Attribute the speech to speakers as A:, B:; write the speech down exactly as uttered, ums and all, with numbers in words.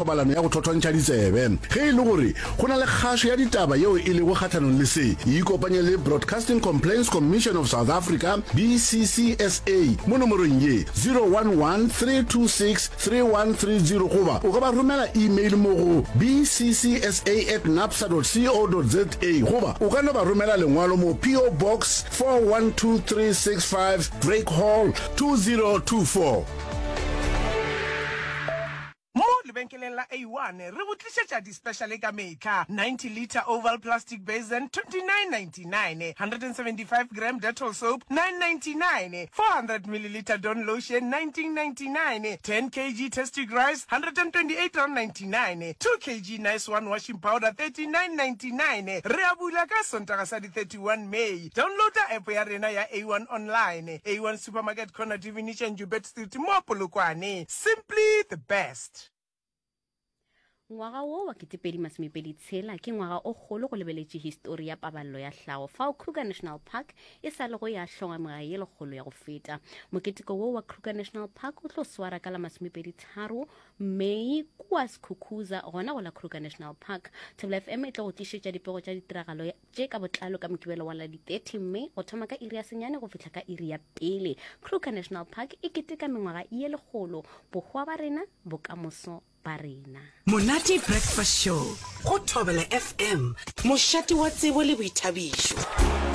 A: thobalano ya go thothontšha ditsebe. Ge e le gore go na le kgašo ya ditaba yeo e lego kgahlanong le se, ikopanye le Broadcasting Complaints Commission of South Africa, B C C S A, mo nomorong ye, zero one one, three two six, three one three zero, goba o ka ba romela email mo go B C C S A at nabsa dot co dot za, goba o ka no ba romela lengwalo mo P O Box four one two three six five, Drake Hall, two zero two four.
B: Mo lebenkeleng la A one re go tlišetša di-speciale ka mehla. ninety litre oval plastic basin, twenty-nine ninety-nine; one hundred seventy-five gram Dettol soap, nine ninety-nine; four hundred milliliter Dawn lotion, nineteen ninety-nine; ten kilograms Tastic rice, one hundred twenty-eight ninety-nine; two kilograms Nice One washing powder, thirty-nine ninety-nine. Re a bula ka Sontaga sa di thirty-one May. Downloada app ya rena ya A one online. A one Supermarket, corner Divination and Joubert Street mo Polokwane. Simply the best.
C: Ngwaga wo wa ketepedi masomepedi tshela ke ngwaga o kgolo go lebeletše histori ya paballo ya hlago, fao Kruger National Park e sa lego ya hlongwa mengwaga ye lekgolo ya go feta. Moketeko wo wa Kruger National Park o tlo swara ka la masomepedi tharo May kua Skukuza, gona go la Kruger National Park. Thobela F M e tlo go tlišetša dipego tša ditiragalo tše ka botlalo ka Mokibelo wa la di thirty May, go thoma ka iri ya senyane go fihla ka iri ya pele. Kruger National Park e keteka mengwaga ye lekgolo. Bohwa ba rena, bokamoso ba rena.
D: Monate Breakfast Show go Thobela F M, mošate wa tsebo le boithabišo.